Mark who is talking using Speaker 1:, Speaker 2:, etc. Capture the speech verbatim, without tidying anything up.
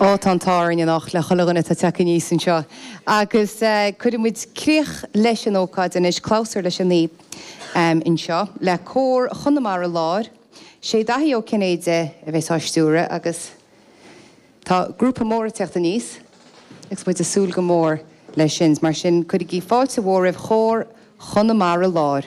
Speaker 1: Ó tá táin nach le chuile dhuine atá ag teacht aníos anseo. Agus uh, cuirfimid críoch leis an ócáid anois clabhsúr leis an naoi um, anseo le cór Chonamara Láir, sé Daithí Ó Cinnéide a bheas á stiúradh agus tá grúpa mór ag teacht aníos agus muid ag súil go mór leis sin, mar sin cuirigí fáilte mhór roimh chór Chonamara Láir.